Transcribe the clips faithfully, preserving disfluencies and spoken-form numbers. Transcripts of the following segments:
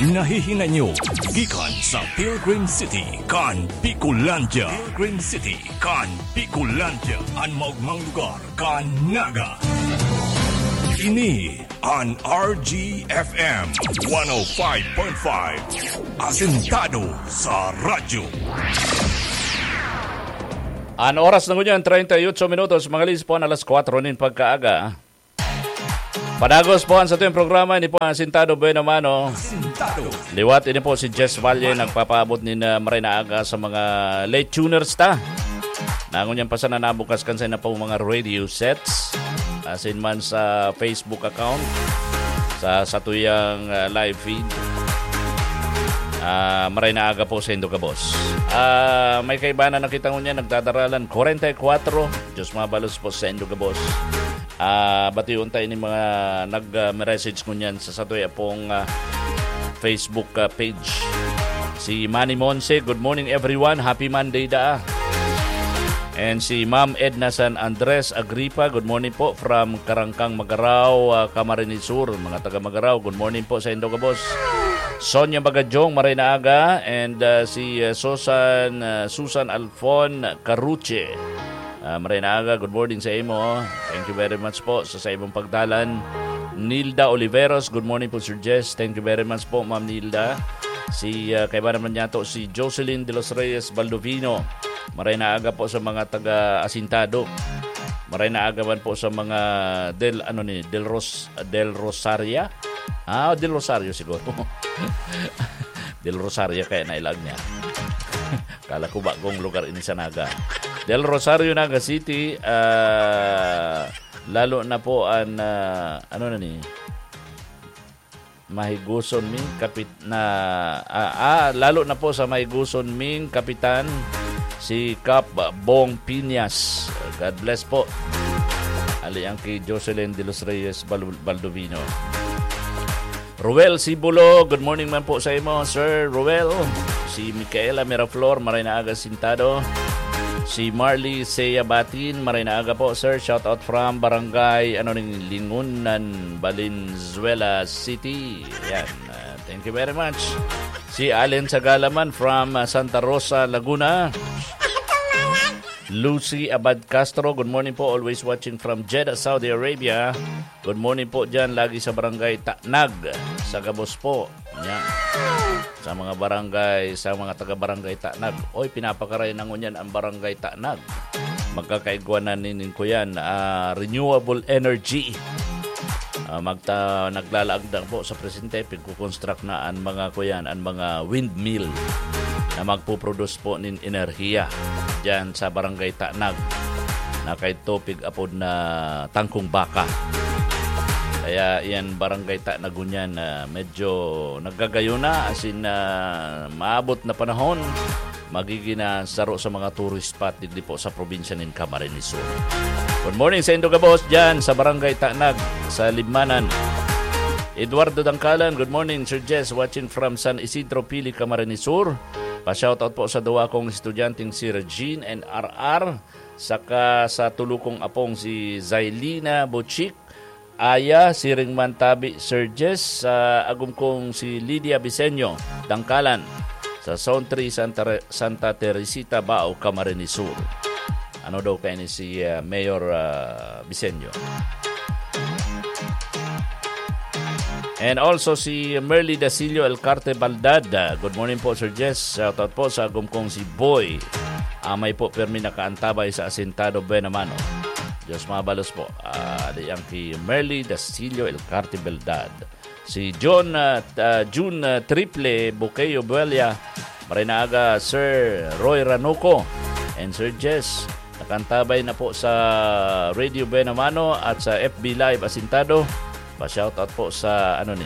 Nahihinay nyo gikan sa Pilgrim City kan Bicolandia. Pilgrim City kan Bicolandia, an maogmang lugar kan Naga. Ini an R G F M one oh five point five, asentado sa radyo. An oras na ngunyan, treinta y ocho minutos, mga lis po an alas kwatro nin pagkaaga. Padagos po an satuyang programa, ini po an Asintado Buena Mano. Asintado. Liwat, ini po si Jess Valle, nagpapaabot nin, ah, maray na aga sa mga late tuners ta. Na ngunyan pa sana nabukas kan sain na pong mga radio sets. Asin man sa Facebook account, sa satuyang, ah, live feed. Ah, maray na aga po saindo gabos. Ah, may kaibanan na kita ngunyan, nagdadaralan, kwarenta y kwatro. Diyos mabalos po saindo gabos. Ah, bation ta ini mga nag, ah, message ngunyan sa satuya pong, ah, Facebook, ah, page. Si Manny Monse, "Good morning, everyone. Happy Monday, daa." And si Ma'am Edna San Andres Agripa, "Good morning po from Karangkang, Magarao, ah, Camarines Sur." Mga taga Magarao, good morning po saindo gabos. Sonia Magajong, maray na aga. And, ah, si, ah, Susan, ah, Susan Alfon Caruche. Ah, maray na aga, good morning sa imo. Thank you very much po sa, sa imong pagdalan. Nilda Oliveros, "Good morning po, Sir Jess." Thank you very much po, Ma'am Nilda. Si, ah, kaiba naman niya to, si Jocelyn de los Reyes Baldovino. Maray na aga po sa mga taga Asintado. Maray na aga man po sa mga Del, ano ni, Del Ros-, Del Rosaria? Ah, Del Rosario siguro. Del Rosario kaya nailag niya. Kala ko bagong lugar ini sa Naga. Del Rosario, Naga City, ah, lalo na po an, ah, ano na ni? Mahigoson ming kapit-, na, ah, ah, lalo na po sa mahigoson ming kapitan, si Kap Bong Piñas. God bless po. Ali ang kay Jocelyn de los Reyes Bal-, Baldovino. Ruel Sibulo, good morning man po sa imo, Sir Ruel. Si Micaela Miraflor, maray na aga sintado. Si Marley Seya Batin, maray na aga po, sir. Shout out from Barangay, ano ning, Lingunan, Valenzuela City. Yan. Ah, thank you very much. Si Allen Sagalaman from, ah, Santa Rosa, Laguna. Lucy Abad Castro, good morning po. Always watching from Jeddah, Saudi Arabia. Good morning po dyan, lagi sa Barangay Tanag, sa gabos po. Yan. Sa mga barangay, sa mga taga-Barangay Tanag. Oy, pinapakaray na ngunyan ang Barangay Tanag. Magkakaigwa na nin, kuyan, ah, renewable energy. Ah, magta-, naglalaag na po sa presente, pigkukonstruct na ang mga, kuyan, ang mga windmill na magpuproduce po nin enerhiya dyan sa Barangay Tanag, na kay Topig apod na Tangkong Baka. Kaya iyan, Barangay Tanag ngunyan, ah, medyo naggagayo na, asin, ah, maabot na panahon, magiging na saro sa mga tourist spot digdi po sa probinsya nin Camarines Sur. Good morning saindo gabos dyan sa Barangay Tanag, sa Libmanan. Eduardo Dangkalan, good morning, Sir Jess, watching from San Isidro, Pili, Camarines Sur. Pa-shoutout po sa duwa kong estudyanteng si Regine and R R, saka sa tulo kong apong si Zailina Bochik, Aya, siring man tabi, Sir Jess, sa agom kong si Lydia Bisenyo, Dangkalan, sa Zone three, Santa Re-, Santa Teresita, Bao, Camarines Sur. Ano daw kaya ni si, ah, Mayor, ah, Bisenyo? And also si Merly Dasilio Elcarte Baldad. Ah, good morning po, Sir Jess. Shoutout po sa agom kong si Boy. Amay po, permi nakaantabay sa Asintado Buena Mano. Diyos mabalos po. Ah, di ang ki Merly Dasilio Elcarte Baldad. Si John, ah, t-, ah, June, ah, Triple Buqueyo Buelia. Maray na aga, Sir Roy Ranuco and Sir Jess. Nakantabay na po sa Radio Buena Mano at sa F B Live Asintado. Pa-shoutout po sa, ano ni,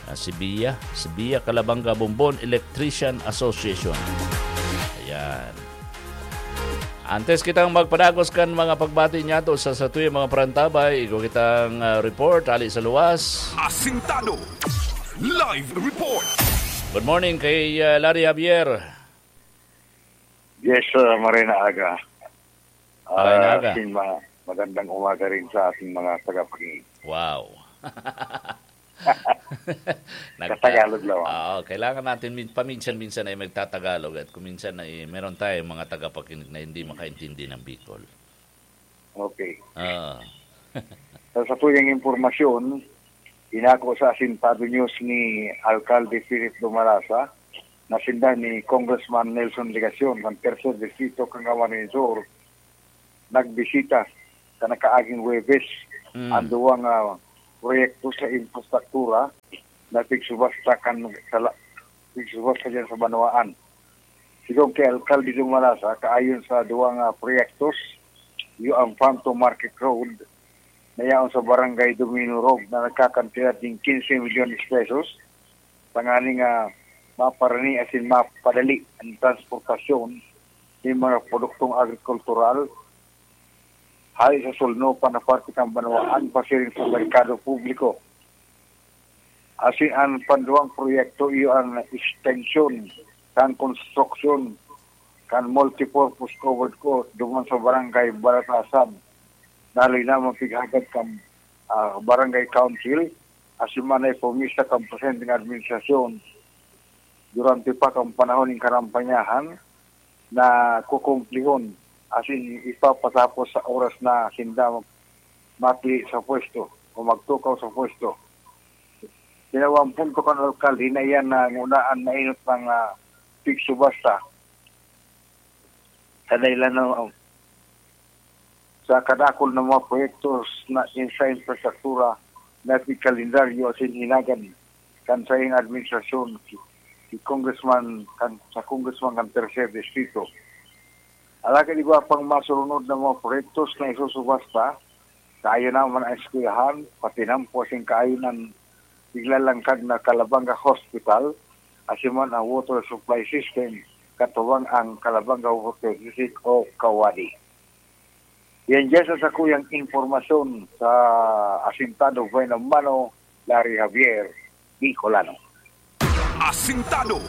ah, Sibiya, Sibiya Calabanga Bombon Electrician Association. Ayan. Antes kitang magpadagos kan mga pagbati niyato sa satuyang mga parantabay, igwa kitang, ah, report hali sa luwas. Asintado. Live report. Good morning kay, ah, Larry Javier. Yes, uh, maray na aga. Maray na aga. Sin ma- magandang umaga rin sa ating mga tagapakinig. Wow. Nagta- Sa Tagalog lang. Oo, kailangan natin min-, paminsan-minsan ay magtatagalog at kung minsan ay meron tayong mga tagapakinig na hindi makaintindi ng Bicol. Okay. Ah. Sa satuyang impormasyon, inako sa Asintado News ni Alkalde Philip Dumalasa na sinda ni Congressman Nelson Legacion kan Tercer Distrito kan Camarines Sur nagbisita sa nakaaging Huwebes Mm. ang duwang, ah, proyekto sa infrastruktura na pigsubasta kan sa la-, pigsubasta diyan sa banwaan. Sigon kay Alkalde Dumalasa, kaayon sa duwang, ah, proyektos, iyo ang Phantom Market Road na yaon sa Barangay Dominurog na nagkakantidad nin quince milyones pesos, tanganing, ah, maparani asin mapadali ang transportasyon nin mga produktong agrikultural hale sa sulnopan na parte kan banwaan pasiring sa merkado publiko. Asin an panduwang proyekto iyo an ekstensyon kan konstruksyon kan multipurpose covered court duman sa Barangay Balatasan na linaman pighagad kan, ah, Barangay Council asin man ay pumista kan presenteng administrasyon durante pa kan panahon nin karampanyahan na kukumplihon asin ipapatapos sa oras na sinda mati sa pwesto o magtukaw sa pwesto. Sinawang punto kan alkalde na iyan na ngunaan mainot ng, ah, pigsubasta sa dahilan ng, sa kadakul na mga proyektos na in-, sa infrastruktura na pigkalendaryo asin hinagan kan saiyang administrasyon si, si Congressman, kan, sa Congressman kan Tercer Distrito. Alagad iba pang masurunod na mga proyektos na isusubasta, kaayo naman ang eskwelahan, pati nampo asin kaayo nan iglalangkag na Calabanga Hospital, asin man ang water supply system, katubang ang Calabanga Water District o Kawadi. Yan dyan sa sakuyang impormasyon sa Asintado Buena Mano, Larry Javier, Bicolano. Asintado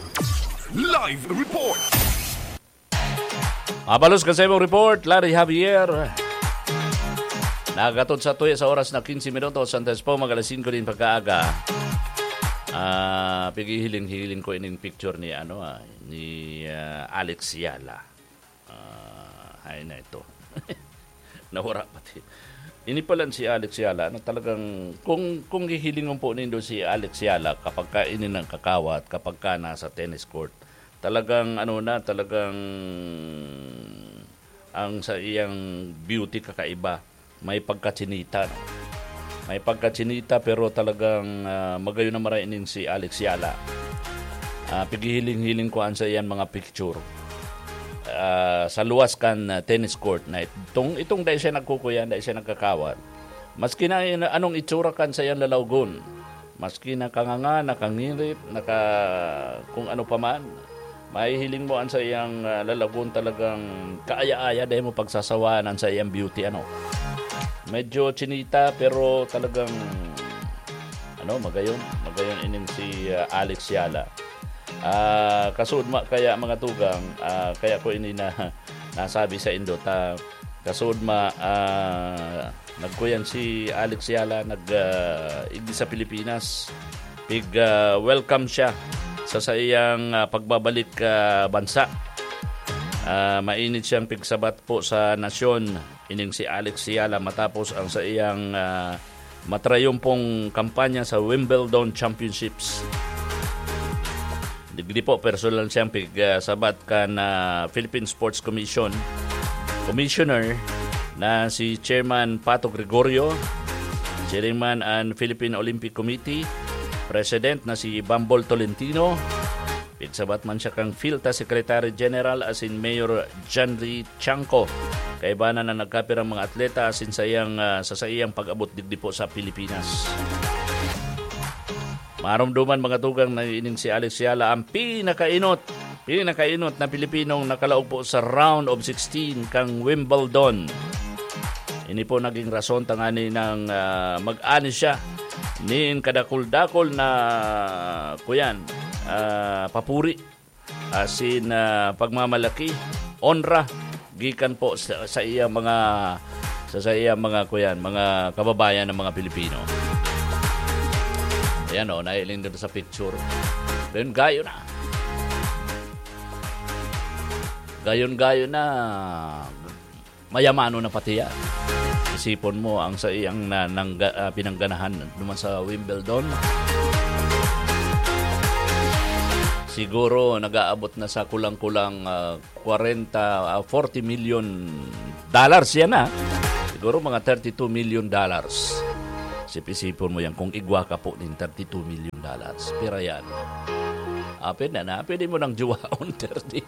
Live Report. Mabalos ka sa imong report, Larry Javier. Nagatot sa tuya sa oras na quince minutos, antes po mag alas singko din pagkaaga. Ah, pigihiling-hiling ko ining picture ni, ano, ah, ni, ah, Alex Yala. Ah, ay na ito. Nawara pati. Ini pala si Alex Yala, ano, talagang, kung, kung hihilingon po nindo si Alex Yala, kapag ka ini nagkakawat, kapag ka nasa tennis court, talagang, ano na, talagang ang sa iyang beauty kakaiba. May pagkatsinita, no? May pagkatsinita, pero talagang, ah, magayon na marainin si Alex Yala. Ah, pigihiling-hiling ko an sa iyan mga picture. Ah, sa luwas kan, ah, tennis court na itong, itong dai siya nagkukuyan, dai siya nagkakawat. Maski na in-, anong itsura kan sa iyang lalawgon, maski nakanganga, nakangirit, naka-, kung ano pa man, mahihiling mo an sa iyang, ah, lalawgon talagang kaaya-aya, dai mo pagsasawaan an sa iyang beauty, ano. Medyo chinita, pero talagang, ano, magayon, magayon ining si, ah, Alex Yala. Ah, kasudma kaya, mga tugang, ah, kaya ko ini na nasabi sa indo ta, kasudma, ah, nagkuyan si Alex Yala, nag, ah, igdi sa Pilipinas. Pig, ah, welcome siya sa saiyang, ah, pagbabalik, ah, bansa. Ah, mainit siyang pigsabat po sa nasyon, ining si Alex Yala, matapos ang saiyang, ah, matrayumpong kampanya sa Wimbledon Championships. Digdi po, personal siyang pig, ah, sabat kan, ah, Philippine Sports Commission Commissioner na si Chairman Pato Gregorio, Chairman an Philippine Olympic Committee, President na si Bambol Tolentino, pigsabat man siya kang PHILTA Secretary General asin Mayor Janry Chanco. Kaibanan na nagkapirang mga atleta asin sa iyang, ah, sa saiyang pag-abot digdi po sa Pilipinas. Marumduman, mga tugang, na ining si Alex Yala ang pinakainot, pinakainot na Pilipinong nakalaog po sa round of sixteen kang Wimbledon. Ini po naging rason tangani nang, ah, mag-ani siya nin kadakul-dakul na, kuyan, ah, papuri asin, ah, pagmamalaki, onra gikan po sa, sa iya mga, sa, sa iya mga, kuyan, mga kababayan ng mga Pilipino. Yan o, nailing dito sa picture. Then gayo na. Gayon-gayo na. Mayamano na pati yan. Isipon mo ang sa iyang na, nangga, ah, pinangganahan naman sa Wimbledon. Siguro nag-aabot na sa kulang-kulang, ah, kwarenta, ah, forty million dollars yan, ah. Siguro mga thirty-two million dollars. Sip-isipon mo yan kung igwa ka po nin thirty-two million dollars. Pira yan? Ah, pwede na. Pwede mo nang juwaon, thirty.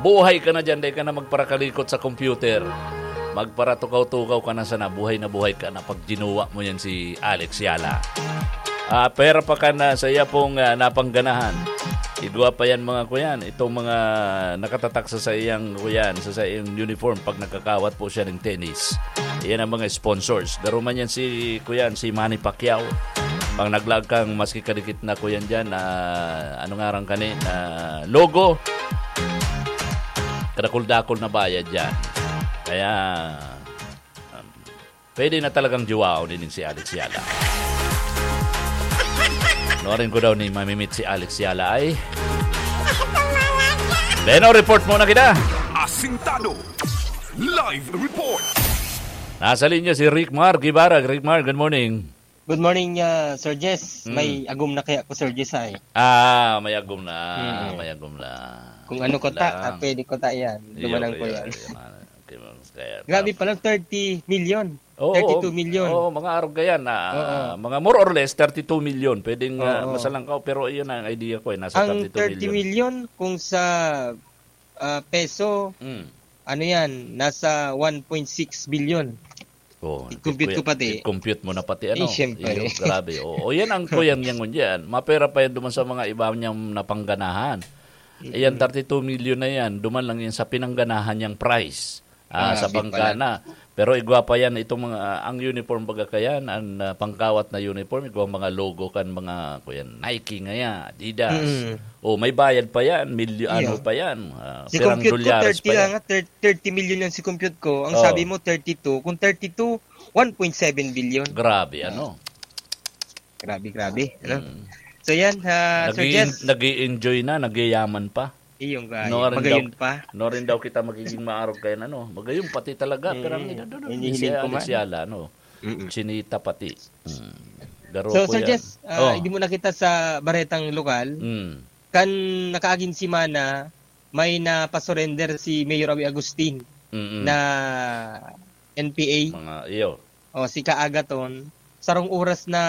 Buhay ka na dyan, dai ka na magparakalikot sa computer. Magparatukaw-tukaw ka na sana. Buhay na buhay ka na pag jinuwa mo yan si Alex Yala. Ah, pera pa ka na sa iya pong, ah, napangganahan. Igwa pa yan, mga kuyan. Itong mga nakatatak sa, sa iyang, kuyan, sa, sa iyang uniform pag nagkakawat po siya ng tennis. Iyan ang mga sponsors. Garo man yan si, kuyan, si Manny Pacquiao. Pag naglaag kang maski kadikit na, kuyan, dyan, ah, ano nga rang kani, ah, logo, kadakul-dakul na bayad dyan. Kaya, um, pwede na talagang juwaon din si Alex Yala. Norin ko daw ni mamimit si Alex Yala ay. Beno, report muna kita. Asintado. Live report. Nasa linya si Rick Mar Guevara. Rick Mar, good morning. Good morning, ah, Sir Jess. Mm. May agom na kaya ko, Sir Jess, ay. Ah, may agom na. Mm. May agom na. Kung ano ko ta, Lang. ah, pwede ko ta yan. Iyo, Dumanang ko iyo, yan. iyo, ano, okay, ma'am. Kaya Grabe tapos pala, thirty million. Oo, thirty-two million. Oo, mga arog yan na, Oo. mga more or less thirty-two million. Pwedeng, ah, Oo. masalangkaw, pero iyon ang idea ko eh, nasa Ang thirty-two million. thirty million, kung sa, ah, peso, Mm. ano yan, nasa one point six billion. Oh, I-compute ko kuya, pati. I-compute mo na pati, Eh, ano, siyempre. yung grabe. Oo, yan ang kuya niyang yan. Mapera pa yan duman sa mga iba niyang napangganahan. Mm. Ayan, thirty-two million na yan. Duman lang yan sa pinangganahan niyang price. Ah, Ah, sa sige bangka pala. na. Pero igwa pa yan, itong mga, ang uniform baga kayan, ang, ah, pangkawat na uniform, igwa mga logo kan mga, kuya, Nike ngaya, Adidas. Mm. Oh, may bayad pa yan, milyo-, Iyo. ano pa yan, ah, Si pirang compute ko, dolyares thirty pa lang, yan. ah, thir-, thirty million lang si compute ko. Ang Oh. sabi mo, thirty-two. Kung thirty-two, one point seven billion. Grabe, Ah. ano? Grabe, grabe, ano? Mm. So yan, ah, Sir Nag-i-, Jess. nag-i-enjoy na, nagyayaman pa. Iyong gayo. No, rin Magayon daw, pa. no, rin daw kita magiging maarog kayo na, no? Magayon pati talaga, Eh, pero ang ina-, no, no, no, hinihiling si ko Alex man. Yala, no? Mm-mm. Chinita pati. Mm. Garo So, ko Sir yan. Jess, ah, Oh. hindi mo nakita sa baretang lokal? Mm. Kan nakaaging semana, may napasurrender si Mayor Awi Agustin Mm-mm. na N P A. Mga, iyo. O, si Kaagaton, sarong oras na,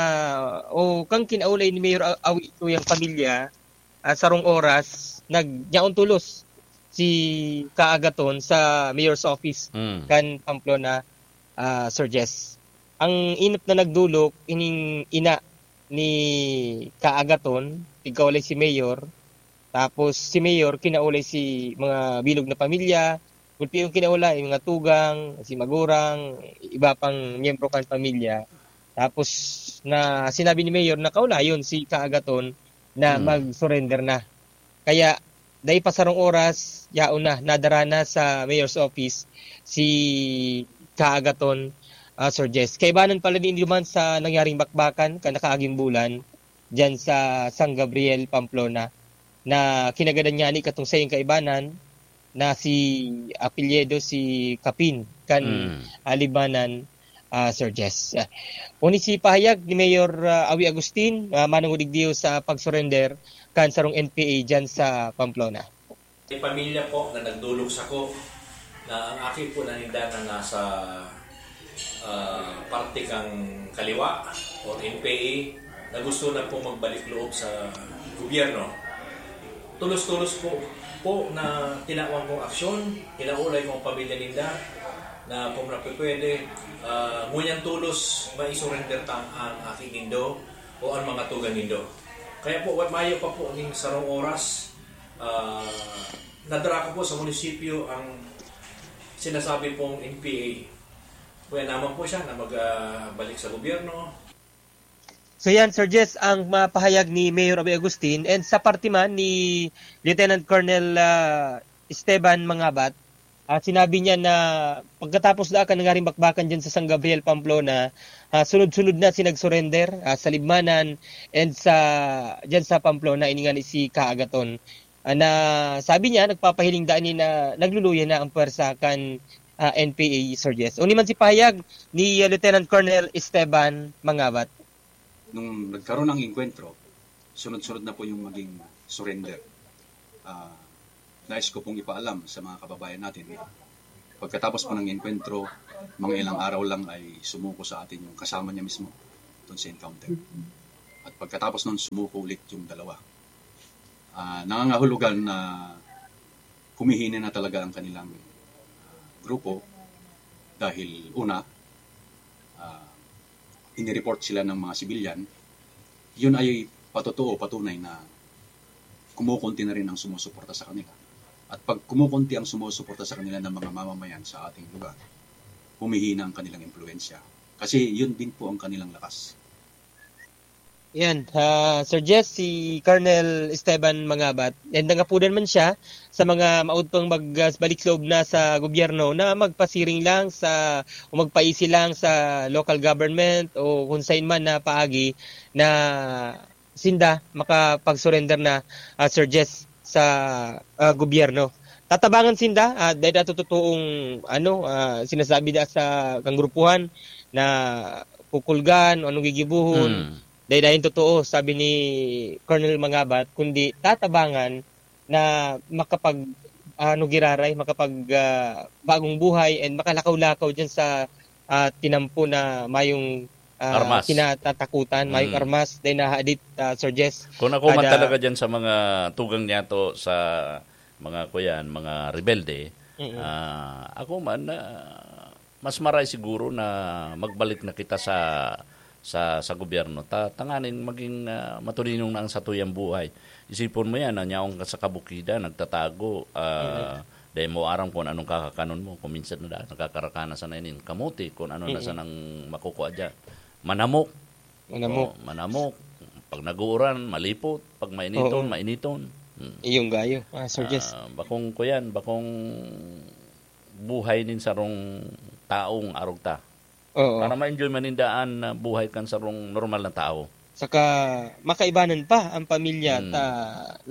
o, kang kinaulay ni Mayor A-, Awi ito yung pamilya, ah, sarong oras, nag-, yaon tulos si Kaagaton sa mayor's office Mm. kan Pamplona, ah, Sir Jess. Ang inot na nagdulok, ining ina ni Kaagaton, tigkaulay si Mayor, tapos si Mayor, kinaulay si mga bilog na pamilya, gulpi yung kinaulay, mga tugang, si magurang, iba pang miyembro kan pamilya. Tapos na sinabi ni Mayor na kaulayon si Kaagaton na Hmm. mag-surrender na. Kaya, dai pa sarong oras, yaon na, nadara na sa mayor's office si Kaagaton, ah, Sir Jess. Kaibanan pala ni Induman sa nangyaring bakbakan, kan nakaaging bulan, dyan sa San Gabriel, Pamplona, na kinagadan niya ni katong sayong kaibanan na si apelyido si Kapin, kan Mm. Alibanan, ah, Sir Jess. Ah, uni si pahayag ni Mayor, ah, Awi Agustin, ah, manungudig diyo sa pag-surrender kan sarong N P A dyan sa Pamplona. May pamilya po na nagdulog sako na ang aki po na ninda na nasa, ah, parte kang kaliwa o N P A na gusto na po magbalik loob sa gobyerno. Tulos-tulos po, po na tinawan kong aksyon, kinaulay kong pamilya ninda na kung na pwede, ah, ngunyan tulos maisurrender ta ang aki nindo o ang mga tugang nindo. Kaya po, wa-, mayo pa po ning sarong oras, ah, nadara ko po sa munisipyo ang sinasabi pong N P A. Kuya naman po siya na mag, ah, balik sa gobyerno. So yan, Sir Jess, ang mapahayag ni Mayor Awi Agustin. And sa parte man ni Lieutenant Colonel, ah, Esteban Mangabat, Ah, sinabi niya na pagkatapos daa kan nangaring bakbakan diyan sa San Gabriel, Pamplona, ah, sunod-sunod na si nag-surrender, ah, sa Libmanan and sa, diyan sa Pamplona, ini nga ni si Kaagaton. Ah, na sabi niya, nagpapahiling daa ni na nagluluya na ang pwersa kan, ah, N P A, Sir Jess. Uni man si pahayag ni, ah, Lieutenant Colonel Esteban Mangabat. Nung nagkaroon ng engkwentro, sunod-sunod na po yung maging surrender. Ah, nais ko pong ipaalam sa mga kababayan natin na pagkatapos po ng engkwentro, mga ilang araw lang ay sumuko sa atin yung kasama niya mismo doon sa encounter. At pagkatapos nun, sumuko ulit yung dalawa. Ah, nangangahulugan na humihina na talaga ang kanilang, ah, grupo dahil una, ah, inireport sila ng mga sibilyan, yun ay patotoo, patunay na kumukunti na rin ang sumusuporta sa kanila. At pag kumukunti ang sumusuporta sa kanila ng mga mamamayan sa ating lugar, humihina ang kanilang impluwensya. Kasi yun din po ang kanilang lakas. Yan, ah, Sir Jess, si Colonel Esteban Mangabat, and nangapudan man siya sa mga maudpang magbalik loob na sa gobyerno na magpasiring lang sa, o magpaisi lang sa local government o kung sain man na paagi na sinda makapag-surrender na, ah, Sir Jess, sa, ah, gobyerno. Tatabangan sinda, ah, dahil ato totoong, ano, ah, sinasabi da sa kang grupuhan na kukulgan o anong gigibuhon. Hmm. Dahil, dahil totoo, sabi ni Colonel Mangabat, kundi tatabangan na makapag, ano, giraray, makapag, ah, bagong buhay and makalakaw-lakaw dyan sa, ah, tinampo na mayong, ah, Armas. kinatatakutan, mayong Mm. armas, dahil nahadit, ah, Sir Jess. Kung ako man Kada talaga dyan sa mga tugang niya to, sa mga, kuyan, mga rebelde, Mm. ah, ako man, ah, mas maray siguro na magbalik na kita sa, sa, sa gobyerno. Ta-, tanganing maging, ah, matulinong na ang satuyang buhay. Isipon mo yan, na nyaong ka sa kabukidan, nagtatago, ah, Mm. dahil mo aram kung anong kakakanon mo. Kung minsan na daan, nagkakarakanan sana inin kamote, kung ano na Mm. sanang makukua dyan. Manamok. Manamok. Oh, manamok. Pag nag-uuran, malipot. Pag mainiton, Oo. mainiton. Hmm. Iyong gayo, ah, Sir Jess. Ah, bakong kuyan, bakong buhay nin sarong taong arog ta. Oo. Para ma-enjoy man nin daan na buhay kan sarong normal na tao. Saka makaibanan pa ang pamilya Hmm. ta,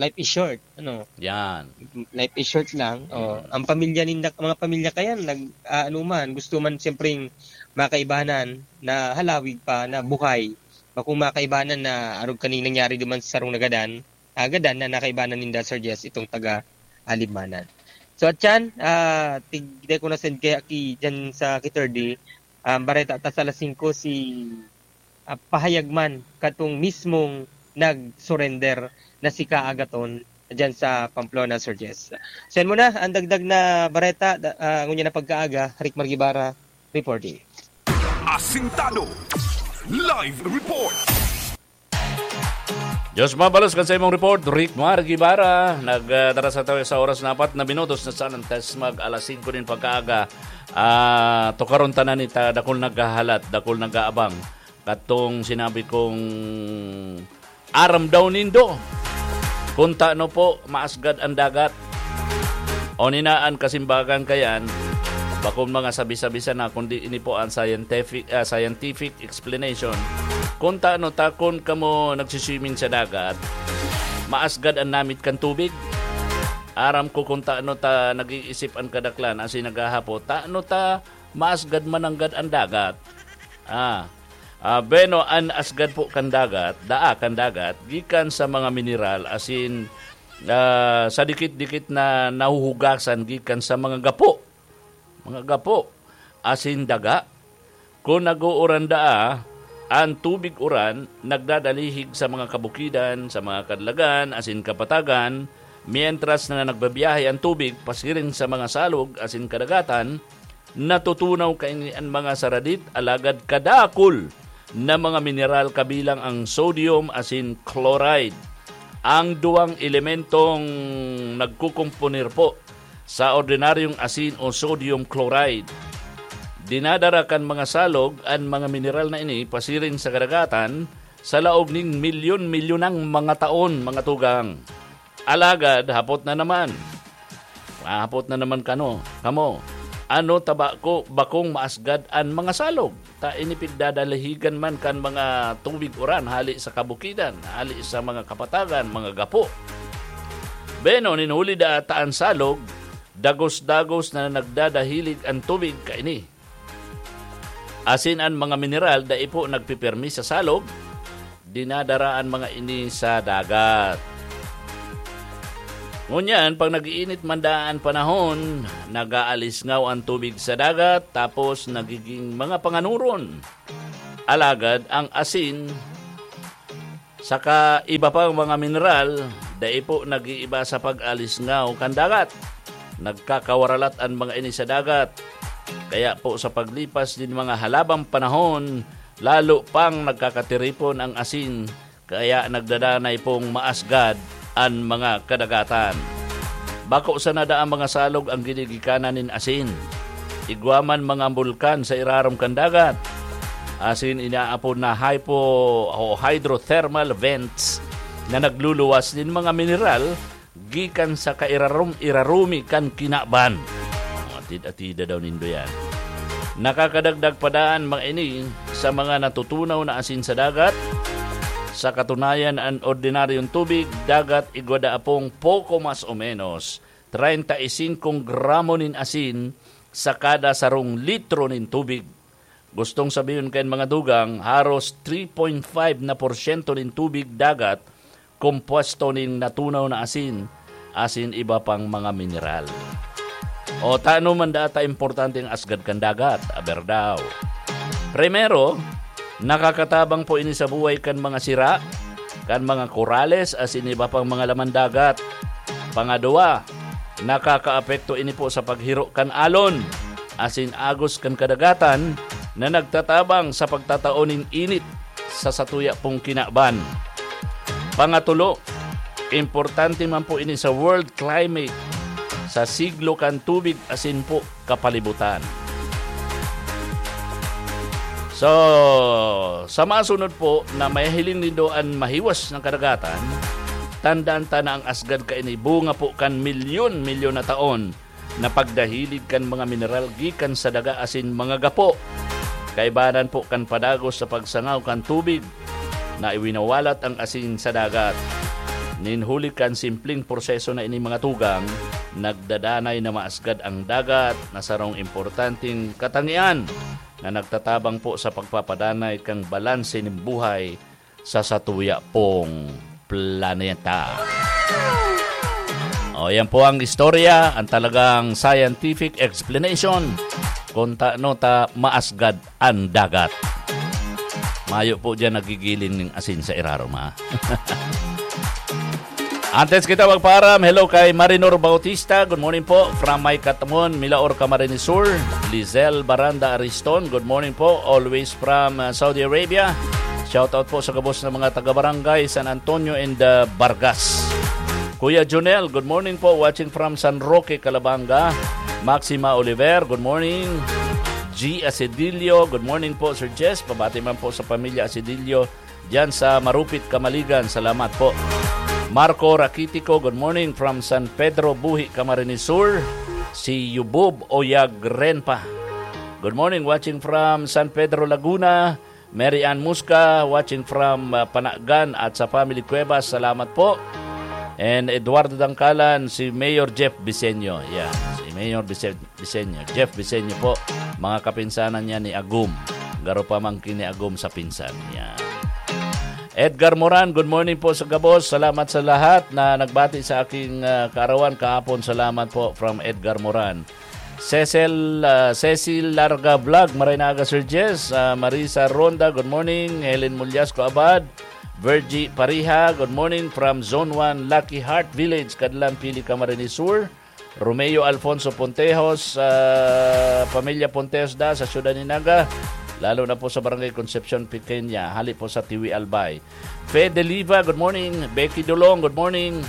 life is short, ano? Yan. Life is short lang. Oh, Hmm. ang pamilya ninda, mga pamilya kayan, nag, ah, ano man, gusto man siyempreng makaibanan na halawig pa na buhay. Bakong makaibanan na arog kaning nangyari duman sa sarong nagadan, ah, gadan na nakaibanan ninda, Sir Jess, itong taga, ah, Libmanan. So, at yan, ah, tig-, di ko na-send kaya ki, dyan sa ki Third D, ah, bareta ta sa alas singko si, ah, pahayag man katong mismong nag-surrender na si Kaagaton dyan sa Pamplona, Sir Jess. So, yan muna ang dagdag na bareta, da-, ah, ngunyan na pagkaaga, Rick Margibara, reporting. Asintado. Live report. Diyos mabalos kan sa imong report, Rick Mar Guevara. Nagdara sa tayo sa oras na apat na minutos na sa alas singko mag alas singko nin pagkaaga. Ah, tukaron tanan ita, dakul naghahalat, dakul nag-aabang. Katong sinabi kong aram daw nindo. Kung tano po, maasgad ang dagat. O ninaan kasimbagan kayan, bakong mga sabi-sabi sana, kundi ini po ang scientific, ah, scientific explanation. Kung tano ta, kun kamo nagsiswimming sa dagat, maasgad ang namit kan tubig. Aram ko kung tano ta nag-iisip ang kadaklan, asin naghahapo, tano ta maasgad mananggad ang dagat. Ah, ah, beno, an asgad po kan dagat, daa kan dagat, gikan sa mga mineral, asin, ah, sa dikit-dikit na nahuhugasan gikan sa mga gapo. Mga gapo, asin daga. Kun nag-uuran daa, an tubig uran nagdadalihig sa mga kabukidan, sa mga kadlagan, asin kapatagan, mientras na nagbabiyahe an tubig pasiring sa mga salog asin kadagatan, natutunaw kaini an mga saradit alagad kadakul na mga mineral kabilang ang sodium asin chloride. Ang duwang elementong nagkukomponer po sa ordinaryong asin o sodium chloride. Dinadara kan mga salog an mga mineral na ini pasiring sa kadagatan sa laog nin milyon-milyonang mga taon, mga tugang. Alagad, hapot na naman, Mahapot na naman kano, kamo, ano ta ba ko bakong maasgad an mga salog? Ta ini pigdadalahigan man kan mga tubig uran hali sa kabukidan, hali sa mga kapatagan, mga gapo. Beno, nin huli da ata an salog, dagos-dagos na nagdadahilig an tubig kaini. Asin an mga mineral dai po nagpipirmi sa salog, dinadara an mga ini sa dagat. Ngunyan, pag nag-iinit man daan panahon, nag-aalisngaw an tubig sa dagat, tapos nagiging mga panganuron. Alagad ang asin, saka iba pang mga mineral, dai po nag-iiba sa pag-alisngaw kan dagat. Nagkakawaralat an mga ini sa dagat. Kaya po sa paglipas din mga halabang panahon, lalo pang nagkakatiripon ang asin, kaya nagdadanay pong maasgad an mga kadagatan. Bako sana daa mga salog ang ginigikanan nin asin. Igwa man mga bulkan sa irarom kan dagat. Asin inaapod na hypo o hydrothermal vents na nagluluwas nin mga mineral gikan sa kairarom-irarumi kan kinaban. Atid-atida daw nindo yan. Nakakadagdag pa daan mga ini sa mga natutunaw na asin sa dagat. Sa katunayan, an ordinaryong tubig dagat igwa daa pong poko mas o menos treinta y cinco gramo nin asin sa kada sarong litro nin tubig. Gustong sabihon kan mga dugang, haros three point five na porsyento nin tubig dagat kompuesto nin natunaw na asin, asin iba pang mga mineral. O tano man data importante ang asgad kan dagat? Aber daw. Primero, nakakatabang po ini sa buhay kan mga sira, kan mga korales, asin iba pang mga laman dagat. Pangadwa, nakakaapekto ini po sa paghiro kan alon, asin agos kan kadagatan na nagtatabang sa pagtatao nin init sa satuya pong kinaban. Pangatulo, importante man po ini sa world climate, sa siglo kan tubig asin po kapalibutan. So, sa masunod po na mahiling nindo an mahiwas ng kadagatan, tandaan ta na ang asgad kaini bunga po kan milyon-milyon na taon na pagdahilig kan mga mineral gikan sa daga asin mga gapo. Kaibanan po kan padagos sa pagsangaw kan tubig na iwinawalat ang asin sa dagat. Nin huli kan simpleng proseso na ini mga tugang, nagdadanay na maasgad ang dagat na sarong importanteng katangian na nagtatabang po sa pagpapadanay kan balanse nin buhay sa satuya pong planeta. O, yan po ang istorya, ang talagang scientific explanation kung tano ta maasgad ang dagat. Mayo po dyan nagigiling ng asin sa irarom, ha? Antes kita magpaaram, hello kay Marinor Bautista. Good morning po from May Katmon, Milaor, Camarines Sur. Lizelle Baranda Ariston, good morning po. Always from uh, Saudi Arabia. Shout out po sa gabos ng mga taga-barangay San Antonio and uh, Vargas. Kuya Jonel, good morning po. Watching from San Roque, Calabanga. Maxima Oliver, good morning. G Asedillo, good morning po, Sir Jess. Pabati man po sa pamilya Asedillo diyan sa Marupit, Camaligan. Salamat po. Marco Rakitico, good morning from San Pedro Buhi, Camarines Sur. Si Yubub Oyag Renpa. Good morning, watching from San Pedro, Laguna. Mary Ann Musca, watching from uh, Panagan at sa Family Cuevas. Salamat po. And Eduardo Dangkalan, si Mayor Jeff Bisenyo. Yeah, si Mayor Bise- Bisenyo. Jeff Bisenyo po. Mga kapinsanan niya ni Agum. Garo pamangkin ni Agum sa pinsan. Yeah. Edgar Moran, good morning po sa gabos. Salamat sa lahat na nagbati sa aking uh, kaarawan kahapon. Salamat po from Edgar Moran. Cecil, uh, Cecil Larga Vlog, Maray na aga, Sir Jess. Uh, Marisa Ronda, good morning. Helen Mulyasco Abad, Virgie Pariha, good morning from Zone one, Lucky Heart Village, Kadlan, Pili, Camarines Sur. Romeo Alfonso Pontejos, uh, pamilya Pontejos da sa Siyudad ni Naga, lalo na po sa Barangay Concepcion Pequeña, hali po sa Tiwi, Albay. Fede Liva, good morning. Becky Dulong, good morning.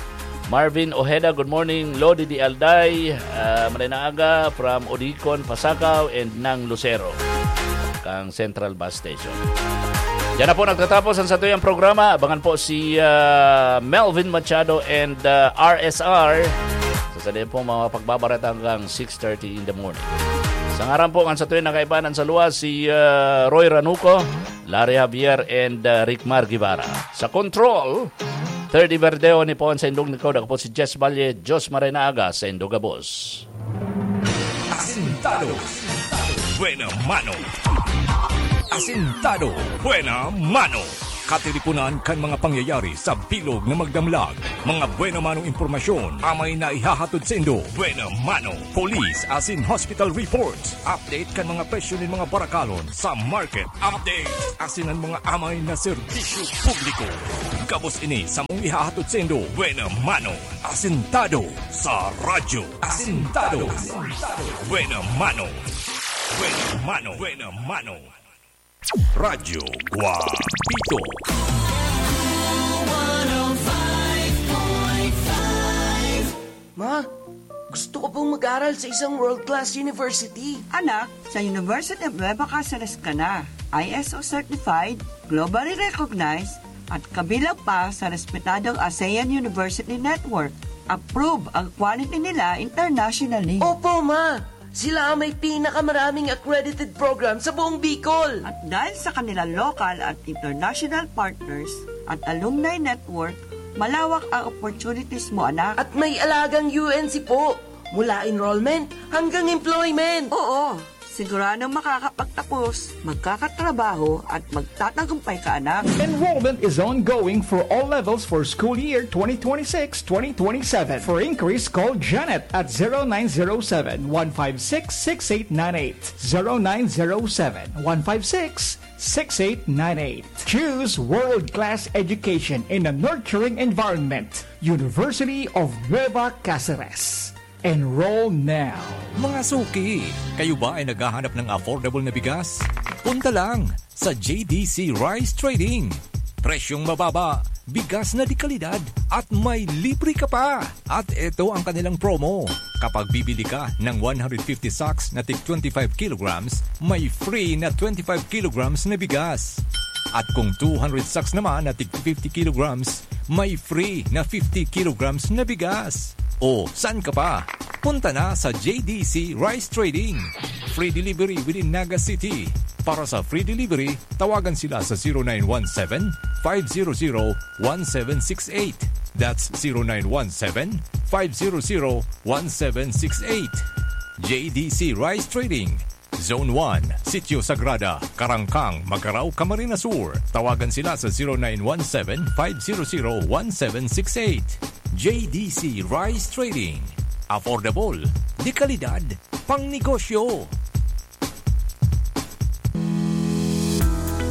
Marvin Ojeda, good morning. Lodi Di Alday, uh, Maray na aga from Odicon, Pasacao, and Nang Lucero. Kang Central Bus Station. Diyan na po nagtatapos ang satuyang programa. Abangan po si uh, Melvin Machado and uh, R S R sa Kani po mga pagbabareta hanggang six thirty in the morning. Sa ngaran po kan sa tuwing nakaibanan sa luwas, si, ah, Roy Ranuco, Larry Javier, and, ah, Rick Mar Guevara. Sa control, thirty Verdeo ni Pon sa Indog Nikod. Ako po si Jess Valle, Diyos Maray na Aga sa Indog Abos. Asintado. Buena mano. Asintado. Buena mano. Katiripunan kan mga pangyayari sa bilog na magdamlag. Mga buena manong impormasyon, amay na ihahatod saindo. Buena mano. Police asin hospital reports. Update kan mga presyo nin mga barakalon sa market. Update asin an mga amay na serbisyo publiko. Gabos ini samong ihahatod saindo. Buena mano. Asintado sa radyo. Asintado. Buena mano. Buena mano. Buena mano. Radyo Guapito. Ma, gusto ko pong mag-aral sa isang world-class university. Anak, sa University of Nueva Caceres ka na. I S O certified, globally recognized, at kabilang pa sa respetadong ASEAN University Network. Approve ang quality nila internationally. Opo, ma! Sila ang may pinakamaraming accredited program sa buong Bicol. At dahil sa kanilang local at international partners at alumni network, malawak ang opportunities mo, anak. At may alagang U N C po, mula enrollment hanggang employment. Oo, siguradong makakapagtapos, magkakatrabaho, at magtatagumpay ka, anak. Enrollment is ongoing for all levels for school year twenty twenty-six twenty twenty-seven. For inquiries, call Janet at zero nine zero seven, one five six, six eight nine eight. Zero nine zero seven, one five six, six eight nine eight. Choose world-class education in a nurturing environment. University of Nueva Caceres. Enroll now. Mga suki, kayo ba ay naghahanap ng affordable na bigas? Punta lang sa J D C Rice Trading. Presyong mababa, bigas na de kalidad, at may libre ka pa! At eto ang kanilang promo. Kapag bibili ka ng one hundred fifty sacks na tig twenty-five kilograms, may free na twenty-five kilograms na bigas. At kung two hundred sacks naman na tig fifty kilograms, may free na fifty kilograms na bigas. O, saan ka pa? Punta na sa J D C Rice Trading. Free delivery within Naga City. Para sa free delivery, tawagan sila sa zero nine one seven, five zero zero, one seven six eight. That's zero nine one seven, five zero zero, one seven six eight. J D C Rice Trading. Zone one, Sitio Sagrada, Carangcang, Magarao, Camarines Sur. Tawagan sila sa zero nine one seven, five zero zero, one seven six eight. J D C Rice Trading. Affordable, de kalidad, pang negosyo.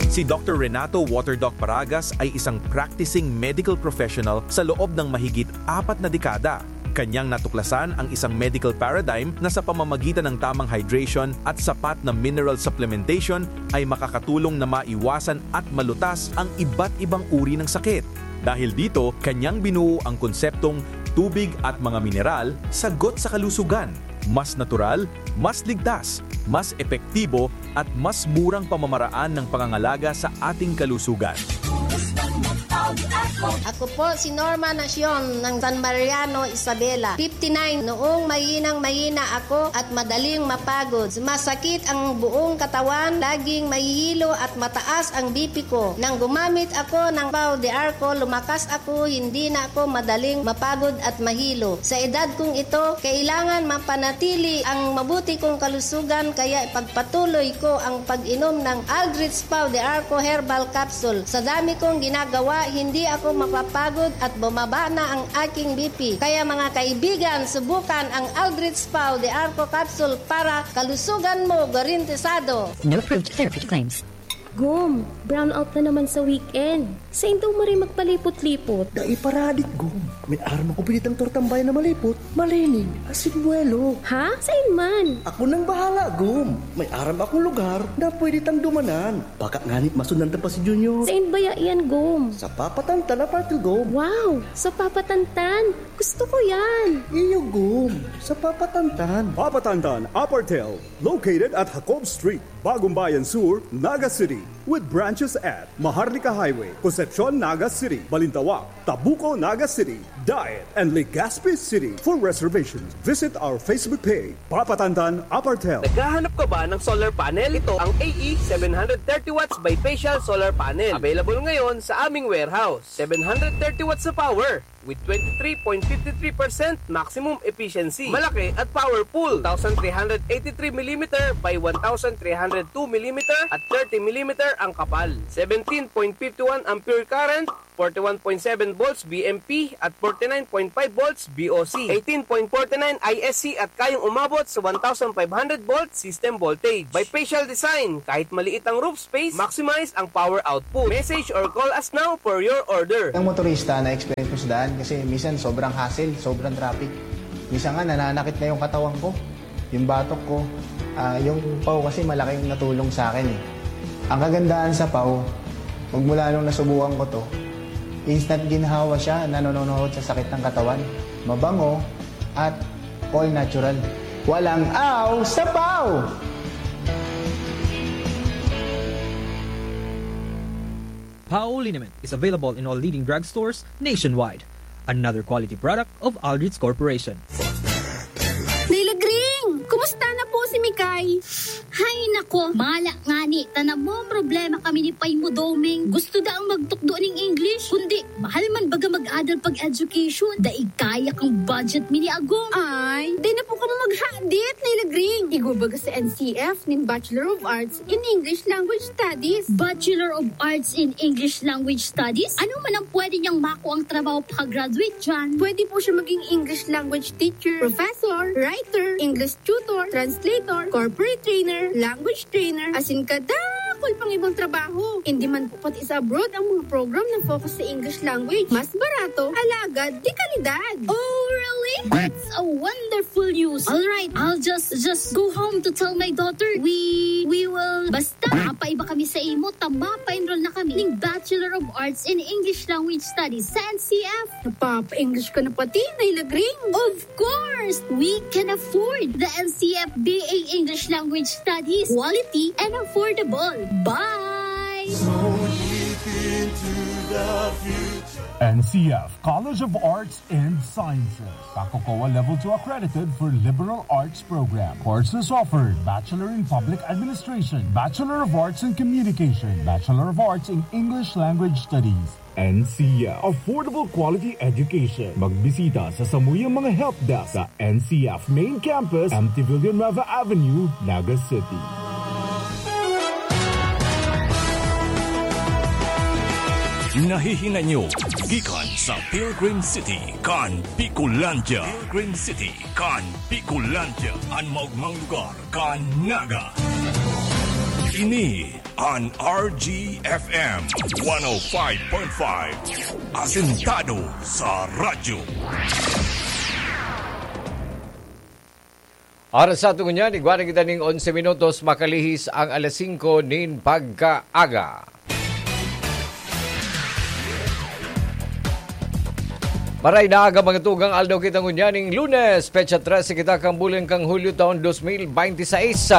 Si Doktor Renato Waterdoc Paragas ay isang practicing medical professional sa loob ng mahigit apat na dekada. Kanyang natuklasan ang isang medical paradigm na sa pamamagitan ng tamang hydration at sapat na mineral supplementation ay makakatulong na maiwasan at malutas ang iba't ibang uri ng sakit. Dahil dito, kanyang binuo ang konseptong tubig at mga mineral, sagot sa kalusugan. Mas natural, mas ligtas, mas epektibo, at mas murang pamamaraan ng pangangalaga sa ating kalusugan. Ako po si Norma Nacion ng San Mariano, Isabela, fifty-nine. Noong mahinang-mahina ako at madaling mapagod, sumasakit ang buong katawan, laging mahihilo at mataas ang B P ko. Nang gumamit ako ng Pau de Arco, lumakas ako, hindi na ako madaling mapagod at mahilo. Sa edad kong ito, kailangan mapanatili ang mabuti kong kalusugan, kaya ipagpatuloy ko ang pag-inom ng Aldrich Pau de Arco Herbal Capsule. Sa dami kong ginagawa, hindi ako mapapagod at bumaba na ang aking B P. Kaya, mga kaibigan, subukan ang Aldrich Pau de Arco Capsule para kalusugan mo garantisado. No approved therapeutic claims. Gom, brownout na naman sa weekend. Sain daw maray magpalipot-lipot? Dai pa radik, Gom. May aram akong pwede tang tortang bayan na malipot. Malining, asin buwelo. Ha? Sain man? Ako nang bahala, Gom. May aram akong lugar na pwede tang dumanan. Baka nganit masundan ta pa si Junior. Sain baya iyan, Gom? Sa Papatantan, Apartel, Gom. Wow! Sa Papatantan! Gusto ko yan! Iyo, Gom. Sa Papatantan. Papatantan, Apartel. Located at Jacob Street, Bagong Bayan Sur, Naga City. With branches at Maharlika Highway, Jose Concepcion, Naga City, Balintawak, Tabuco, Naga City, Daet, and Legazpi City. For reservations, visit our Facebook page, Papa Tantan Apartel. Naghahanap ka ba ng solar panel? Ito ang A E seven hundred thirty watts bifacial solar panel. Available ngayon sa aming warehouse. Seven hundred thirty watts na power with twenty-three point five three percent maximum efficiency. Malaki at powerful. Two thousand three hundred eighty-three millimeter by one thousand three hundred two millimeter at thirty millimeter ang kapal. Seventeen point five one ampere current, forty-one point seven volts V M P at forty-nine point five volts V O C, eighteen point forty-nine I S C at kayang umabot sa one thousand five hundred volt system voltage. Bifacial design, kahit maliit ang roof space, maximize ang power output. Message or call us now for your order. Ang motorista na experience ko sa daan kasi minsan sobrang hassle, sobrang traffic. Minsan nga nananakit na yung katawan ko, yung batok ko. Ah, yung paw kasi malaking natulong sa akin eh. Ang kagandahan sa paw, magmula nung nasubukan ko to, instant ginhawa siya, nanononohod sa sakit ng katawan. Mabango at all natural. Walang aw sa paw! Paw liniment is available in all leading drugstores nationwide. Another quality product of Aldrich Corporation. Nailagring! Kumusta na po si Mikay? Hay nako, mala ngani, ta namomroblema kami ni Pay mo, Doming. Gusto daang magtukdo ning English, kundi mahal man baga mag-adal pag-education. Daig kaya kan budget mi ni Agom. Ay, di na po kamo maghadit, Nailagring. Igwa baga sa N C F nin Bachelor of Arts in English Language Studies. Bachelor of Arts in English Language Studies? Ano man ang pwede niyang makuang trabaho pagka-graduate diyan? Pwede po siya maging English language teacher, professor, writer, English tutor, translator, corporate trainer, language trainer, asin kadakul pang ibang trabaho. Hindi man po pati sa abroad ang mga program na focus sa English language. Mas barato, alagad, de kalidad. Oh, really? That's a wonderful news. All right, I'll just, just go home to tell my daughter. We, we will, basta, mapaiba kami sa imo, ta mapa-enroll na kami ning Bachelor of Arts in English Language Studies sa N C F. Napapa-English ka na pati, Nailagring? Of course, we can afford the N C F B A English Language Studies. Quality and affordable. Bye! So deep into the future. N C F College of Arts and Sciences. Kakokowa Level two accredited for liberal arts program. Courses offered: Bachelor in Public Administration, Bachelor of Arts in Communication, Bachelor of Arts in English Language Studies. N C F. Affordable quality education. Magbisita sa samuyang mga help desk sa N C F Main Campus, M T Villanueva Avenue, Naga City. Nahihinay nyo gikan sa Pilgrim City kan Bicolandia. Pilgrim City kan Bicolandia, an maogmang lugar kan Naga. Ini an R G F M one oh five point five, asentado sa radyo. Oras sa aton ngunyan, igwa na kita ning onse minutos, makalihis ang alas singko nin pagkaaga. Maray na aga, mga tugang, aldaw kita ngunyan ning Lunes, petsa trese kita kan bulan kan Hulyo, taon dos mil bente seis.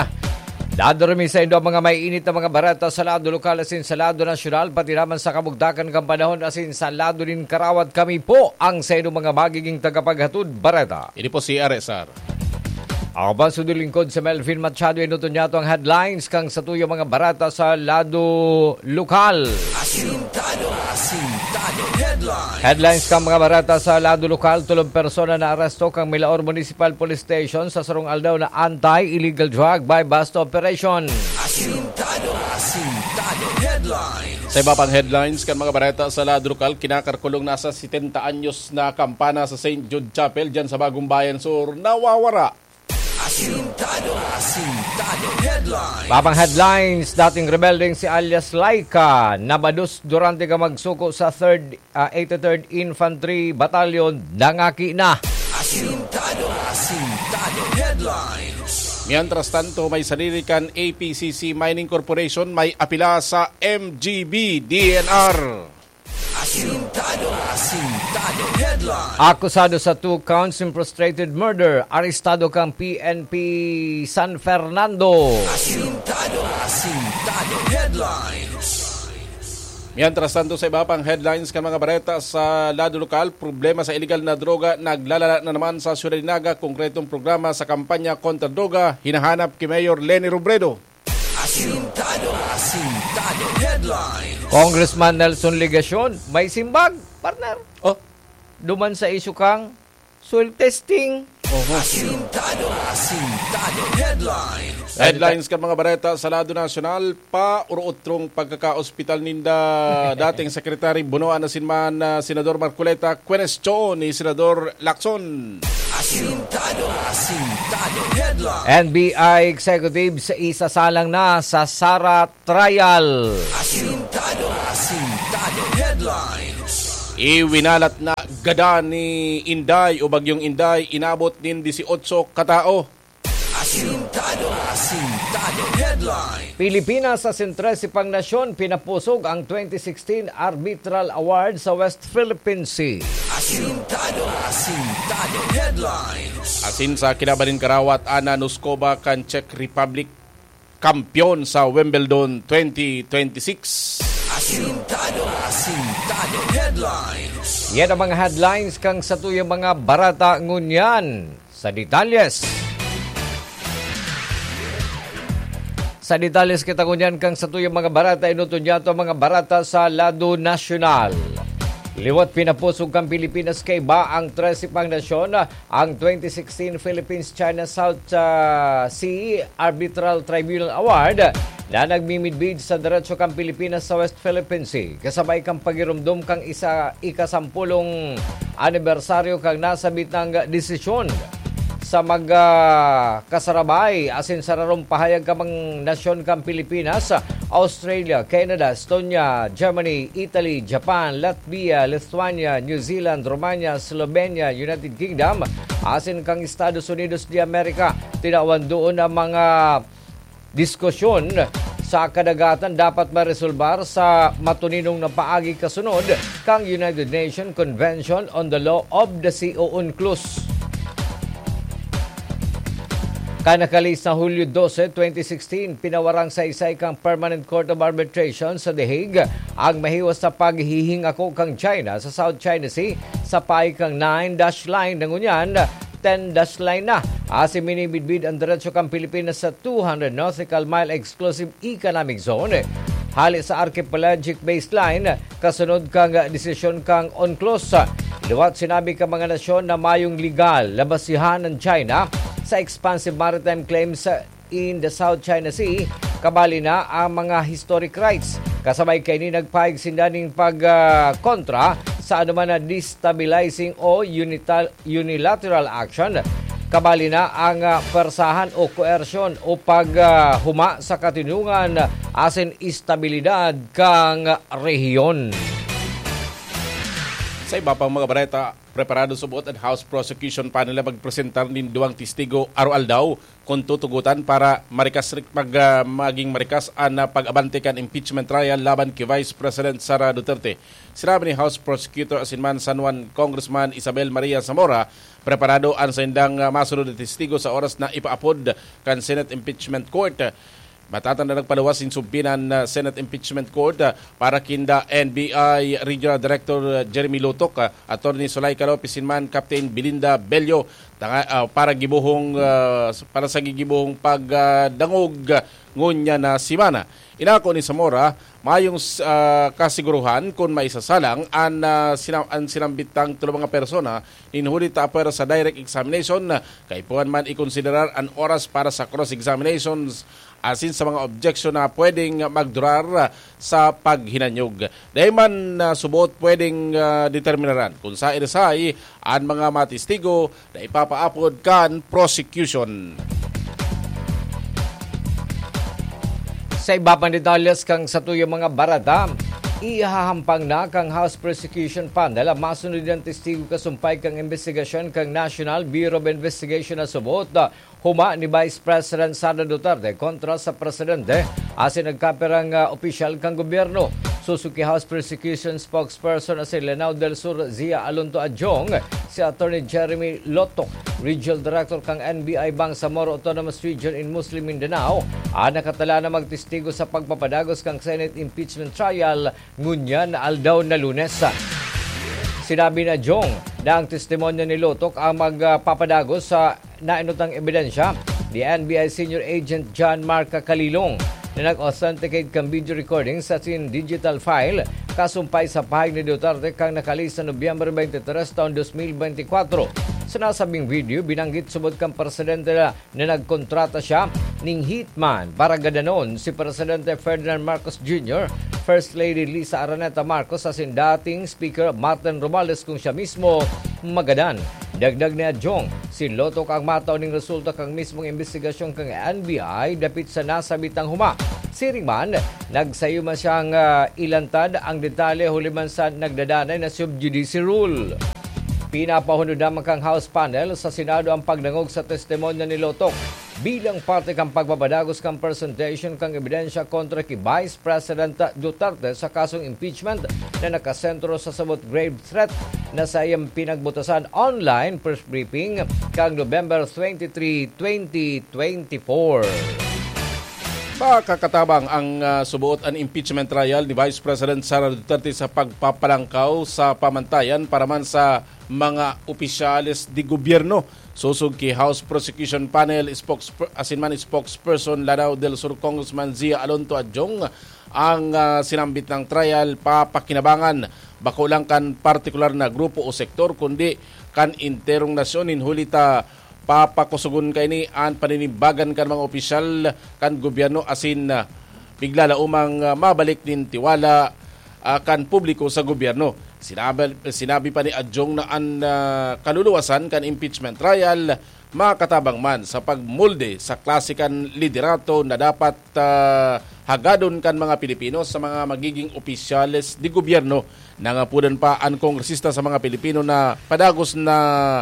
Dadara mi saindo ang mga maiinit na mga bareta sa lado lokal asin sa lado nasyonal, pati naman sa kabugtakan kan panahon asin sa lado nin karawat. Kami po ang saindong mga magiging tagapaghatod bareta. Ini po si R S R. Ako pa, sundon lingkod si Melvin Machado, enoton niyato ang headlines kan satuyang mga bareta sa lado lokal. Asintado, asintado, headlines. Headlines kan mga bareta sa lado lokal: tolong persona naaresto kan Milaor Municipal Police Station sa sarong aldaw na anti-illegal drug buy-bust operation. Asintado, asintado, headlines. Sa iba pang headlines kan mga bareta sa lado lokal, kinakarkulong na sa setenta anyos na kampana sa Saint Jude Chapel diyan sa Bagong Bayan Sur, nawawara. Asintado, asintado, headlines. Iba pang headlines: dating rebeldeng si alias Laika, nabadus durante kan magsuko sa third, ah, eighty-third Infantry Battalion, nangaki na. Asintado, asintado, headlines. Mientras tanto, may sadiri kan A P C C Mining Corporation may apila sa M G B D N R. Asintado, asintado, headlines. Akusado sa two counts in frustrated murder, arestado kan P N P San Fernando. Asintado, asintado, headlines. Mientras tanto, sa iba pang headlines kan mga bareta sa lado lokal, problema sa iligal na droga naglalala na naman sa Ciudad de Naga. Konkretong programa sa kampanya kontra droga hinahanap ki Mayor Leni Robredo. Asintado, asintado headlines. Congressman Nelson Legacion, may simbag, partner. Oh. Duman sa isyu kang soil testing. Asintado, asintado headlines. Headlines kan mga bareta sa lado nasyonal, pa urotrong pagkakaospital ninda dating Secretary Bonoan asin man, ah, Senador Marcoleta, kwenestiyon ni Senador Lacson. Asintado, asintado headlines. N B I executive sa isasalang na sa Sara trial. Asintado, asintado headlines. Iwinalat na gadan ni Inday o Bagyong Inday, inabot nin dieciocho katao. Asintado, asintado headlines. Pilipinas asin trese pang nasyon pinapusog ang twenty sixteen Arbitral Award sa West Philippine Sea. Asintado, asintado headlines. Asin sa kinaban nin karawat, Ana Noskova kan Czech Republic, kampeon sa Wimbledon twenty twenty-six. Asintado, asintado headlines. Yan ang mga headlines kan satuyang mga bareta ngunyan. Sa detalyes. Sa detalyes kita ngunyan kan satuyang mga bareta, inuton niya to ang mga bareta sa lado nasyonal. Liwat pinapusog kan Pilipinas kaiba ang trese pang nasyon, ang twenty sixteen Philippines-China South, ah, Sea Arbitral Tribunal Award na nagmimidbid sa derecho kan Pilipinas sa West Philippine Sea, kasabay kan pagiromdom kan isa, ikasampulong anibersaryo kan nasabitang desisyon. Sa mag, ah, kasarabay asin sararong pahayag kan mga nasyon kan Pilipinas, Australia, Canada, Estonia, Germany, Italy, Japan, Latvia, Lithuania, New Zealand, Romania, Slovenia, United Kingdom, asin kan Estados Unidos de America. Tinawan doon ang mga diskusyon sa kadagatan dapat maresolbar sa matuninong na paagi kasunod kan United Nations Convention on the Law of the Sea o UNCLOS. Kan nakalihis na Hulyo dose, twenty sixteen, pinawarang saysay kan Permanent Court of Arbitration sa The Hague ang mahiwas na paghihingako kan China sa South China Sea sa paagi kan nine dash line na ngunyan ten dash line na. Asin minimidbid ang derecho kan Pilipinas sa two hundred nautical mile exclusive economic zone hale sa archipelagic baseline, kasunod kan desisyon kan UNCLOS. Liwat sinabi kan mga nasyon na mayong legal na basihan ang China sa expansive maritime claims in the South China Sea, kabali na ang mga historic rights. Kasabay kaini, nagpahayag sinda nin pag, ah, kontra sa anoman na destabilizing o unital-, unilateral action, kabali na ang, ah, pwersahan o koersyon o pag, ah, huma sa katinungan asin estabilidad kan rehiyon. Sa iba pang mga bareta, preparado subot an House Prosecution Panel na magpresentar nin duwang testigo aroaldaw kun tutugotan para marikas, mag, ah, maging marikas an, ah, pag-abante kan impeachment trial laban ki Vice President Sara Duterte. Sinabi ni House Prosecutor asin man San Juan Congressman Isabel Maria Zamora, preparado an saindang, ah, masunod na testigo sa oras na ipaapod kan Senate Impeachment Court. Matatanda, nagpaluwas nin subpoena an, ah, Senate Impeachment Court, ah, para kinda N B I Regional Director, ah, Jeremy Lotok, ah, Attorney Zuleika Lopez asin man Captain Belinda Bello, tanga-, ah, para gibohong, ah, para sa gigibohong pag, ah, dangog, ah, ngunyan na semana. Inako ni Zamora, mayong, ah, kasiguruhan kun maisasalang an, ah, sina-, an sinambitang tulo mga persona nin huli ta apwera sa direct examination. Kaipuhan man ikonsiderar an oras para sa cross-examinations asin sa mga objection na pwedeng magdurar sa paghinanyog. Dai man, ah, subot pwedeng, ah, determinaran kun saen na saen an mga matestigo na ipapaapod kan prosecution. Sa iba pang detalyes kan satuyang mga bareta, ihahampang na kan House Prosecution Panel ang masunod na testigo kasumpay kan imbestigasyon kan National Bureau of Investigation na subot, ah, huma ni Vice President Sara Duterte kontra sa presidente asin nagkapirang, ah, opisyal kan gobyerno. Suzuki House Prosecution Spokesperson na si Lanao del Sur Zia Alonto Adjong, si Attorney Jeremy Lotok, Regional Director kan N B I Bangsamoro Autonomous Region in Muslim Mindanao, ang nakatala na magtestigo sa pagpapadagos kan Senate impeachment trial ngunyan na aldaw na Lunes. Sinabi ni Adjong na ang testimonyo ni Lotok ang magpapadagos sa nainutang ebidensya ni N B I Senior Agent John Mark Calilong na nag-authenticate kan video recording sa sin digital file kasumpay sa pahayag ni Duterte kan nakalihis na Nobyembre twenty-three taon twenty twenty-four. Sa nasabing video, binanggit subot kan presidente na nagkontrata siya ning hitman para gadanon si Presidente Ferdinand Marcos Junior, First Lady Lisa Araneta Marcos asin dating Speaker Martin Romualdez kung siya mismo magadan. Dagdag ni Adjong, si Lotok ang matao ning resulta kan mismong imbestigasyon kan N B I dapit sa nasabitang huma. Siring man, nagsayo man siyang ah, ilantad ang detalye huli man sa nagdadanay na sub judice rule. Pinapahunod naman kan House panel sa Senado ang pagdangog sa testimonya ni Lotok bilang parte kan pagpapadagos kan presentation kan ebidensya kontra ki Vice President Duterte sa kasong impeachment na nakasentro sa sabot grave threat na saiyang pinagbutasan online press briefing kan November twenty-three, twenty twenty-four. Makakatabang ang ah, subuot an impeachment trial ni Vice President Sara Duterte sa pagpapalangkaw sa pamantayan para man sa mga opisyales de gobyerno. Sosog ki House Prosecution Panel spokesper, asin man spokesperson Lanao del Sur Congressman Zia Alonto Adjong ang ah, sinambit ng trial papakinabangan bako lang kan partikular na grupo o sektor kundi kan enterong nasyon, nin huli ta papakusogon kaini an paninimbagan kan mga opisyal kan gobyerno asin ah, bigla la umang ah, mabalik nin tiwala ah, kan publiko sa gobyerno. Sinabi, sinabi pa ni Adjong na an ah, kaluluwasan kan impeachment trial makatabang man sa pagmolde sa klase kan liderato na dapat ah, hagadon kan mga Pilipino sa mga magiging opisyales de gobyerno. Nangapodan pa an kongresista sa mga Pilipino na padagos na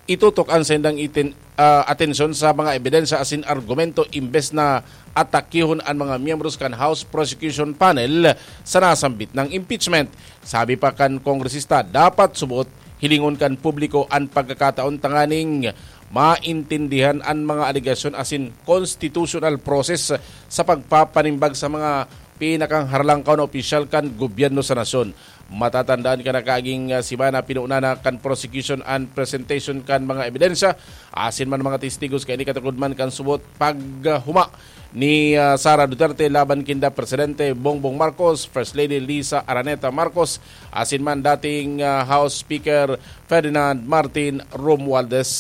itutok an saindang itin, ah, atensyon sa mga ebidensya asin argumento imbes na atakihon an mga miyembros kan House Prosecution Panel sa nasambit na impeachment. Sabi pa kan kongresista, dapat subot hilingon kan publiko an pagkakataon tanganing maintindihan an mga alegasyon asin constitutional process sa pagpapanimbag sa mga pinakangharlangkaw na opisyal kan gobyerno sa nasyon. Matatandaan kan nakaaging ah, semana, pinuuna na kan prosecution an presentation kan mga ebidensya asin man mga testigos kaini katukod man kan subot paghuma ni ah, Sara Duterte laban kinda Presidente Bongbong Marcos, First Lady Lisa Araneta Marcos, asin man dating ah, House Speaker Ferdinand Martin Romualdez.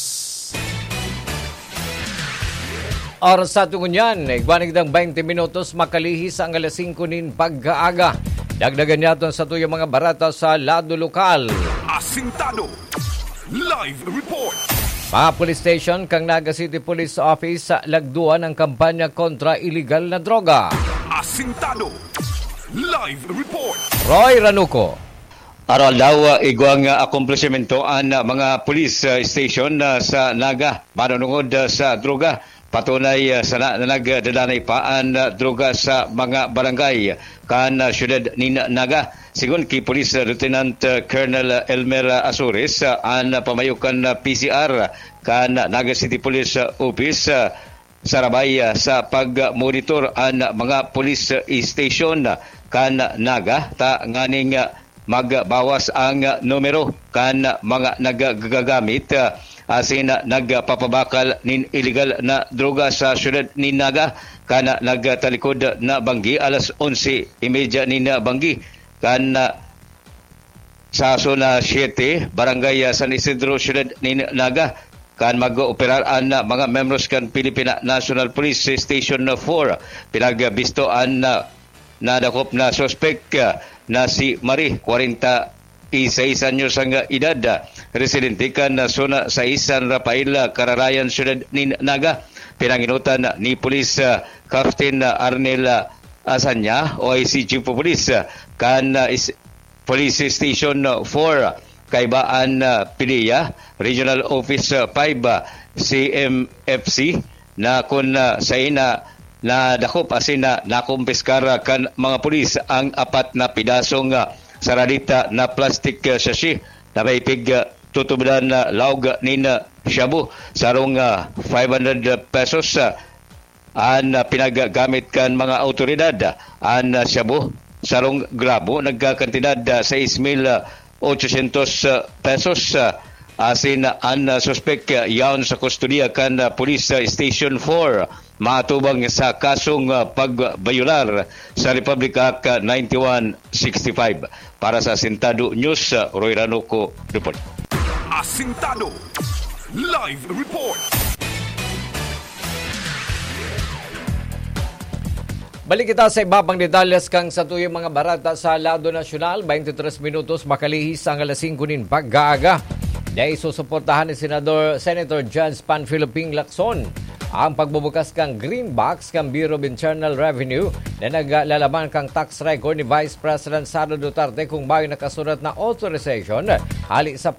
Oras sa tungon yan, igwa na kitang twenty minutos makalihis ang alas singko nin pagkaaga. Dagdagan niyaton sa tuyang mga barata sa lado lokal. Asintado. Live report. Mga police station kang Naga City Police Office sa lagduan ang kampanya kontra iligal na droga. Asintado. Live report. Roy Ranuco. Aroaldaw, igwang akomplisimentoan mga police ah, station ah, sa Naga, manunungod ah, sa droga. Patunay ah, sana na nagdadanay pa an ah, droga sa mga barangay kan ah, siyudad nin Naga. Sigon ki Police Lieutenant ah, Colonel Elmer Azores, ah, an pamayo kan ah, P C R kan Naga City Police ah, Office ah, sarabay ah, sa pagmonitor an mga police station kan Naga ta nganing ah, magbawas ang numero kan mga naggagamit ah, asin nagpapabakal nin iligal na droga sa siyudad nin Naga kan nagtalikod na banggi alas onse y media nin banggi kan ah, sa Zona siete, Barangay ah, San Isidro, siyudad nin Naga. Kan mag-operar an ah, mga membros kan Philippine National Police Station four, pinagbisto an ah, nadakop na suspek ah, na si Marie, kwarenta y seis anyos ang edad, ah, residente kan ah, Zona sais, San Rafael, ah, Kararayan, siyudad nin Naga. Pinanginutan ni Police ah, Captain ah, Arnel ah, Asanya, O I C Chief of Police ah, kan ah, is- Police Station four, kaiba an ah, PDEA, Regional Office ah, five, ah, C M F C, na kun ah, sain na nadakop asin na nakumpiskar kan mga pulis ang apat na pidasong, ah, saradita na plastic, ah, sachet na may pig, ah, tutubodan na laog nin, ah, shabu, sarong, ah, five hundred pesos, ah, an, ah, pinaggamit kan mga awtoridad. An, ah, shabu, sarong gramo, nagkakantidad, ah, sais mil ochocientos pesos, ah, asin an, ah, suspek, ah, yaon sa kustodiya kan, ah, Police, ah, Station four, matubang sa kasong, ah, pagbayolar sa Republic Act, ah, ninety-one sixty-five. Para sa Asintado News, ah, Roy Ranuco, report. Asintado Live Report. Balik kita sa iba pang detalles kan satuyang mga bareta sa lado nasyonal. Twenty-three minutos makalihis ang alas singko nin pag-aaga. Dai susuportahan ni Senador, Senator Jens Panfilo Ping Lacson ang pagbubukas kan Green Box kan Bureau of Internal Revenue na naglalaman kan tax record ni Vice President Sara Duterte kung mayo nakasurat na authorization hali sa